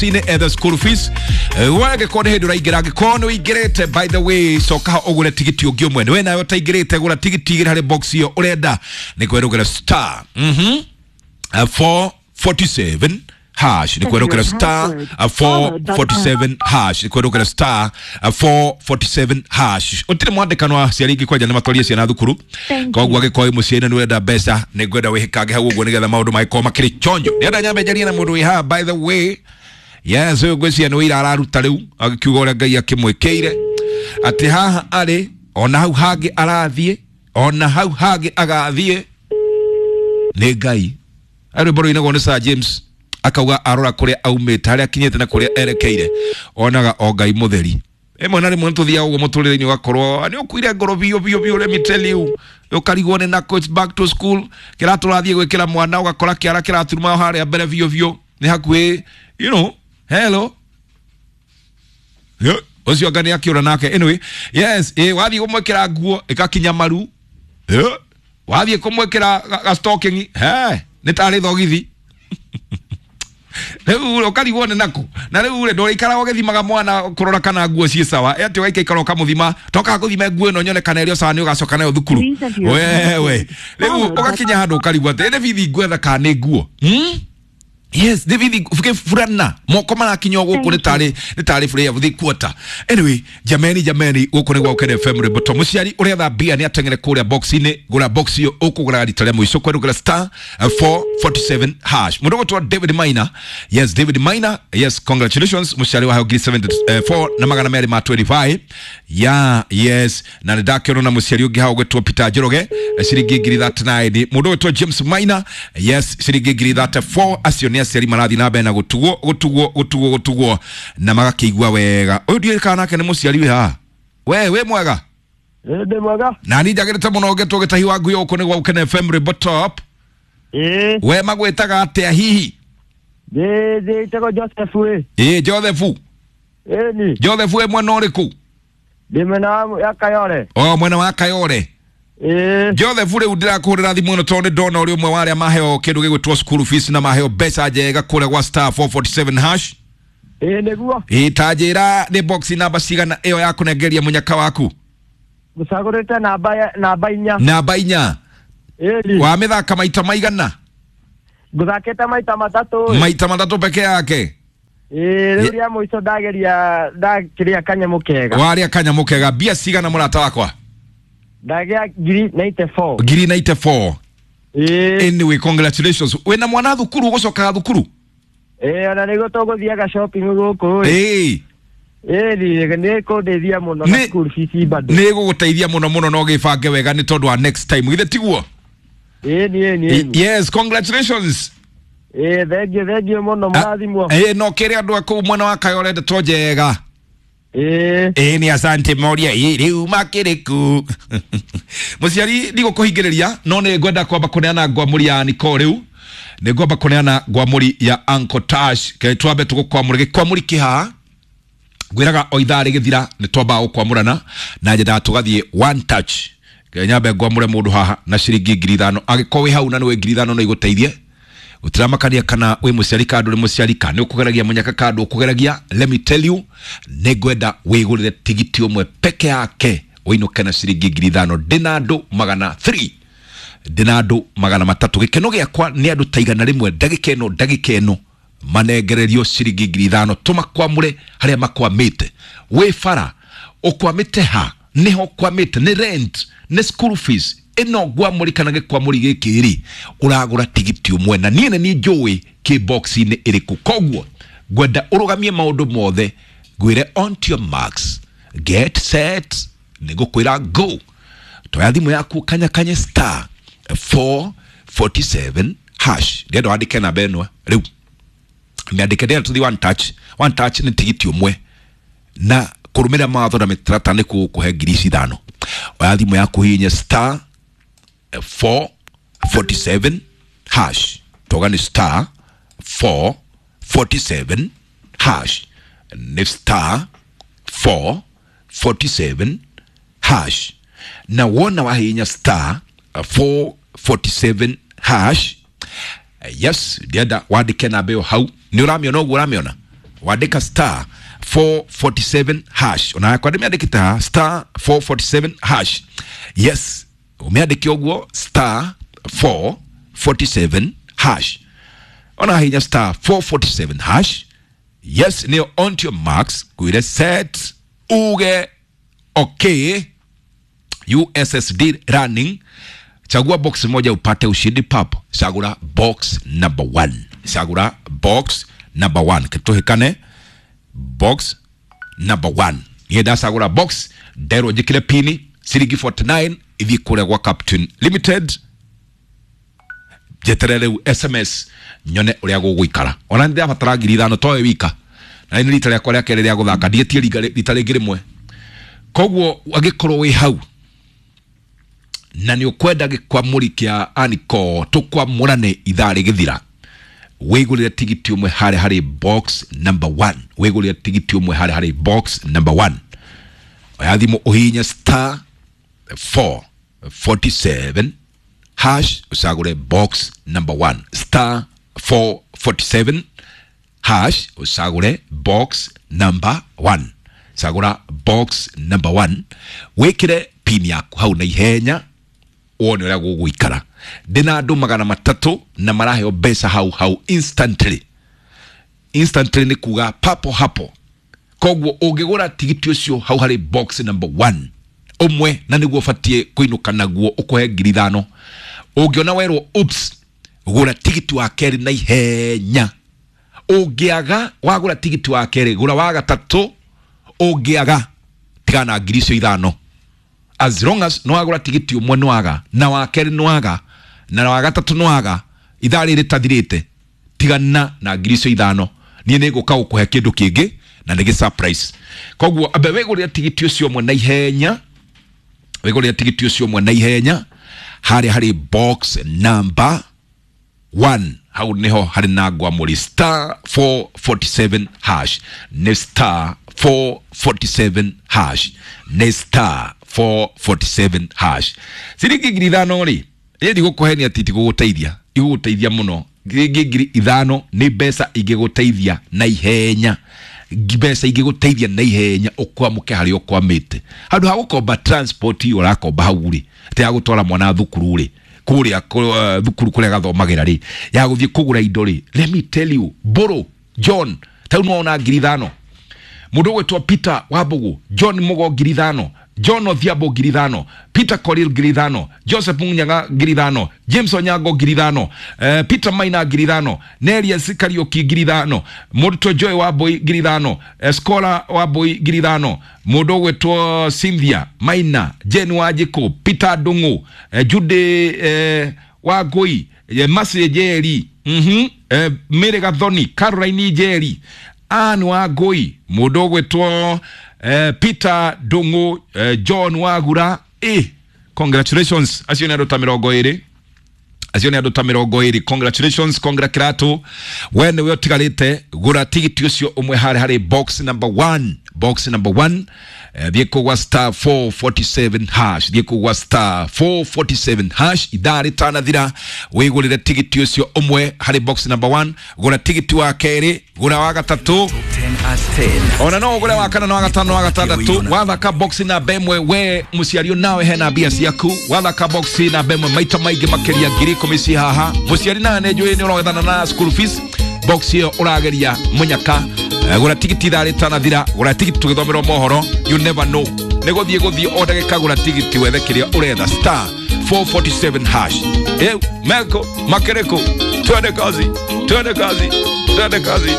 box-inĩ ethe school fees. Wangĩkorwo nĩ hĩndĩ ũraingĩra, angĩkorwo nĩ ũingĩrĩte, by the way, coka ho ũgũre tigiti ũngĩ ũmwe. We nawe ũtaingĩrĩte, gũra tigiti igĩrĩ harĩ box ĩyo ũrenda nĩ kwerũgĩra star 447 hash, nĩ kwerũkĩra star 447 hash, nĩ kwerũkĩra star 447 hash. Ũtirĩ mwandĩkano wa aciari ingĩ kwanja nĩ matwarie ciana thukuru, koguo angĩkorwo wĩ mũciĩ na nĩ ũrenda mbeca, nĩ ngwenda wĩhĩkange hau ũguo nĩgetha maũndũ magĩkorwo makĩrĩ chonjo. Ndĩrenda nyambe njarie na mũndũ wĩ haha, by the way. Yes, ũyũ ngwĩciria nĩ wĩira araruta rĩu agĩkiuga ũrĩa Ngai akĩmwĩkĩire, atĩ haha arĩ ona hau hangĩ arathiĩ, ona hau hangĩ agathiĩ nĩ Ngai. Rwĩmbo rũinagwo nĩ Sir James, akauga arora kũrĩa aumĩte, harĩa akinyĩte na kũrĩa erekeire, onaga o Ngai mũtheri. Ĩmwe na rĩmwe nĩtũthiaga ũguo mũtũrĩre-inĩ, ũgakorwo nĩ ũkuire ngoro biũ biũ biũ. Let me tell you, ũkarigwo nĩ nako, it's back to school, kĩratũ ũrathiĩ gwĩkĩra mwana ũgakora kĩara kĩraturuma harĩa mbere biũ biũ, nĩ hakuhĩ, you know. Hello. Yeah, ũcio anga nĩ akĩũra nake. Anyway, yes, wathiĩ kũmwĩkĩra nguo ĩgakinya maru. Yeah. Wathiĩ kũmwĩkĩra ga stocking, he nĩ tarĩ thogithi. Rĩu ũkarigwo nĩ naku, na rĩu rĩ, ndũrĩikaraga ũgĩthimaga mwana kũrora kana nguo ciĩ sawa, atĩ ũgaikaikara ũkamũthima, tokaga gũthima nguo ĩno nyone kana ĩrĩ o sawa, nĩ ũgacoka nayo thukuru. Wewe rĩu ũgakinya handũ ũkarigwo atĩ nĩ bithi ngwetha kana nĩ nguo, Yes, nĩ bithi burana moko marakinya o gũkũ, nĩ tarĩ bũrĩa the quarter. Anyway, jameni, jameni, gũkũ nĩ gwa Ũkene FM Rĩmboto. Mũciari ũretha mbia nĩ ateng'ere kũrĩa box-inĩ, gũra box ĩyo ũkũgũra rita rĩa mũico kwerũgĩra star 447 hash. Mũndũ ũgũtwo David Maina, yes, David Maina, yes, congratulations, mũciari waheo ngiri 74 na magana merĩ ma 25 ya. Yes, na nĩ ndakĩona na mũciari ũngĩ hau ũgwĩtwo Peter Njoroge, ciringi ngiri 39. Mũndũ ũgwĩtwo James Maina, yes, ciringi ngiri 34. Acio nĩ aciari marathiĩ na mbere na gũtugwo, gũtugwo, gũtugwo, gũtugwo na magakĩigua wega. Ũyũ ndiũĩ kana nake nĩ mũciari wĩ haha. We wĩ mwega? Ndĩ mwega. Na ni njagĩrĩte mũno ngetwo gĩtahi wa ngui. Gũkũ nĩ gwa Ũkene FM Rĩmbo Top. Ĩĩ. We magwĩtaga atĩa hihi? Ndĩ njĩtagwo Joseph ĩ. Ĩ, Joseph. Ĩni. Joseph, wĩ mwena ũrĩkũ? Ndĩ mwena wa ya Kayole. O mwena wa Kayole? Ĩĩ. Joseph, rĩu ndĩrakũhũrĩra thimũ ĩno tondũ nĩ ndona ũrĩ ũmwe wa arĩa maheo kĩndũ gĩgwĩtwo school fees na maheo mbeca njega kũrĩa gwa star 447 hash. Ĩĩ, nĩguo. Ĩ, ta njĩra nĩ box namba cigana ĩyo ya kũnengeria mũnyaka waku? Gũcagũrĩte namba 4. Namba 4? Ĩni. Wa mĩthaka maita maigana? Ngũthakĩte maita matatũ ĩ. Maita matatũ peke yake? Ĩĩ, rĩu rĩa mũico ndageria ndakĩrĩa kanyamũ kega. Warĩa kanyamũ kega. Mbia cigana, mũrata wakwa? Ndagĩa ngiri 94. Ngiri 94? Ĩĩ. Anyway, congratulations. Wĩna mwana thukuru, ũgũcokaga thukuru? Ĩĩ, ona nĩguo tũgũthiaga shopping gũkũ ĩ. Ĩĩ. Ĩni, nĩ kũndeithia mũno na school fees bado. Nĩ gũgũteithia mũno mũno, no gĩbange wega nĩ tondũ wa next time, githĩ tiguo? Ĩni, ĩni, ĩni. Yes, congratulations. Ĩĩ, thengiũ, thengiũ mũno, mũrathimwo. Ĩĩ, no kĩrĩ andũ a kũu mwena wa Kayore ndeto njega. Ĩĩ. Ĩĩ, nĩ asante. Moria ĩ rĩu makĩrĩ ku mũciari, ndigũkũhingĩrĩria, no nĩ ngwenda kwamba kũneana ngwamũri ya Nicole. Rĩu nĩ ngwamba kũneana ngwamũri ya Uncle Tash. Ke twambe tũgũkwamũra gĩkwamũri kĩhaha, ngwĩraga o ithaa rĩgĩthira nĩ twambaga gũkwamũrana na nyendaga tũgathiĩ one touch. Ke nyambe ngwamũre mũndũ haha na ciringi 5,000. Angĩkorwo wĩ hau na nĩ wĩ 5,000 no igũteithie, gũtiramakania kana wĩ mũciari kana ndũrĩ mũciari, kana nĩ ũkũgeragia mũnyaka kana ndũkũgeragia. Let me tell you, nĩ ngwenda wĩgũrĩre tigiti ũmwe peke yake ũinũke na ciringi 5,000. Ndĩna andũ magana 3, ndĩna andũ 300. Gĩkeno gĩakwa nĩ andũ ta 100 ndagĩka ĩno, ndagĩka ĩno manengererio ciringi 5,000, tũmakwamũre harĩa makwamĩte. Wĩ bara ũkwamĩte ha? Nĩho ũkwamĩte? Nĩ rent? Nĩ school fees? Ĩno ngwamũri kana gĩkwamũri gĩkĩ rĩ, ũragũra tigiti ũmwe na niĩ nĩ niĩ njũĩ kĩ box-inĩ ĩrĩkũ. Koguo ngwenda ũrũgamie maũndũ mothe, ngwĩre on to your marks, get set, nĩ ngũkwĩra go. Toya thimũ yaku, kanya kanye star 447 hash. Ndĩrenda wandĩke namba ĩno rĩu, mĩandĩke. Ndĩrenda tũthiĩ one touch. One touch nĩ tigiti ũmwe na kũrũmĩrĩra mawatho na mĩtaratara nĩ kũgũkũhe ngiri ici 5. Oya thimũ yaku, hihinya star 447 hash. Toga nĩ star 447 hash, nĩ star 447 hash. Na wona wahihinya star 447 hash, yes, ndienda wandĩke namba ĩyo hau. Nĩ ũramĩona ũguo? Ũramĩona? Wandĩka star 447 hash. Ona yakwa ndĩmĩandĩkĩte haha, star 447 hash. Yes, ũmĩandĩke ũguo, star 447 hash. Ona hinya star 447 hash. Yes, nĩyo on to your marks, kwĩre set, uge okay, USSD running. Chagua box moja upate ushindi papo. Chagura box number 1. Chagura box number 1. Kituhikane box number 1. Niĩ ndacagũra box nderwo njĩkĩre pini ciringi 49 ithiĩ kũrĩa gwa Captain Limited, njeterere rĩu SMS nyone ũrĩa gũgũikara. Ona nĩ ndĩrabatara 5,000 towe wika, na nĩ rita rĩakwa rĩa kerĩ rĩa gũthaka, ndiĩtie rita rĩngĩ rĩmwe. Koguo angĩkorwo wĩ hau na nĩ ũkwenda gĩkwamũri kĩa Aniko tũkwamũrane ithaa rĩgĩthira, wĩgũrĩre tigiti ũmwe harĩa harĩ box number 1. Wĩgũrĩre tigiti ũmwe harĩa harĩ box number 1. Oya thimũ ũhihinye star 447 hash, ũcagũre box number 1. Star 447 hash, ũcagũre box number 1. Cagũra box number 1, wĩkĩre pin yaku hau na ihenya, wone ũrĩa gũgũikara. Ndĩna andũ 300 na maraheo mbeca hau hau instantly. Instantly nĩ kuga papo hapo. Koguo ũngĩgũra tigiti ũcio hau harĩ box number 1 ũmwe, na nĩguo ũbatiĩ kũinũka naguo ũkũhe 5,000. Ũngĩona werwo oops, gũra tigiti wa kerĩ na ihenya. Ũngĩaga wagũra tigiti wa kerĩ, gũra wa gatatũ. Ũngĩaga tigana na 5,000. As long as no wagũra tigiti ũmwe nĩwaga, na wa kerĩ nĩwaga, na wa gatatũ nĩwaga, ithaa rĩrĩ rĩtathirĩte, tigana na 5,000. Niĩ nĩ ngũka gũkũhe kĩndũ kĩngĩ na nĩ gĩ surprise. Koguo ambe wĩgũrĩre tigiti ũcio ũmwe na ihenya, wĩgũrĩre tigiti ũcio ũmwe na ihenya harĩa harĩ box number 1. Hau niho harĩ na ngwamũri, star 447 hash. Nĩ star 447 hash, nĩ star 447 hash. Ciringi 5,000 rĩ, ĩ ndigũkũhenia atĩ itigũgũteithia, igũgũteithia mũno. Ciringi 5,000 nĩ mbeca ingĩgũteithia na ihenya, mbeca ingĩgũteithia na ihenya ũkwamũke harĩa ũkwamĩte. Handũ ha gũkomba transport iyo ũrakomba hau rĩ, atĩ ya gũtwara mwana thukuru rĩ, kũrĩa thukuru kũrĩa gathomagĩra rĩ, ya gũthiĩ kũgũra indo rĩ, let me tell you, Mbũrũ John tau nĩwona 5,000. Mũndũ ũgwĩtwo Peter Wambũgũ, John Mũgo 5,000, John Odhiambo 5,000, Peter Korir 5,000, Joseph Munyaga 5,000, James Onyango 5,000, Peter Maina 5,000, Nelius Kariuki 5,000, mũrutwo Joy Wambui 5,000, Scholar Wambui 5,000, mũndũ ũgwĩtwo Cynthia Maina, Jane Wanjikũ, Peter Ndung'u, Jude Wangui, Mercy Njeri, Mary Gathoni, Caroline Njeri, Ann Wangui, mũndũ ũgwĩtwo Peter Ndung'u, John Wagura. Congratulations, acio nĩ andũ ta 20. Acio nĩ andũ ta 20. Congratulations, congra kĩratũ. We nĩwe ũtigarĩte, gũra tigiti ũcio ũmwe harĩa harĩ box number 1. Box number 1. Thiĩ kũgwa star 447 hash, thiĩ kũgwa star 447 hash ithaa rĩtanathira, wĩgũrĩre tigiti ũcio ũmwe harĩ box number 1. Gũra tigiti wa kerĩ, gũra wa gatatũ, 10 at 10. ona no ũgũre wa kana na wa gatano na wa gatandatũ. Wathaka box namba ĩmwe, we mũciari nawe hena mbia ciaku. Wathaka box namba ĩmwe maita maingĩ makĩria 10,000 ci haha. Mũciari nawe nĩ njũĩ nĩ ũrogethana na school fees, box ĩyo ũrageria mũnyaka. Gũra tigiti ithaa rĩtanathira, gũra tigiti tũgĩthomerwo mohoro. You never know, nĩ gũthiĩ gũthiĩ o ndagĩka, gũra tigiti wethe kĩrĩa ũretha, star 447 hash. Meko makereko, twende kazi, twende kazi, twende kazi.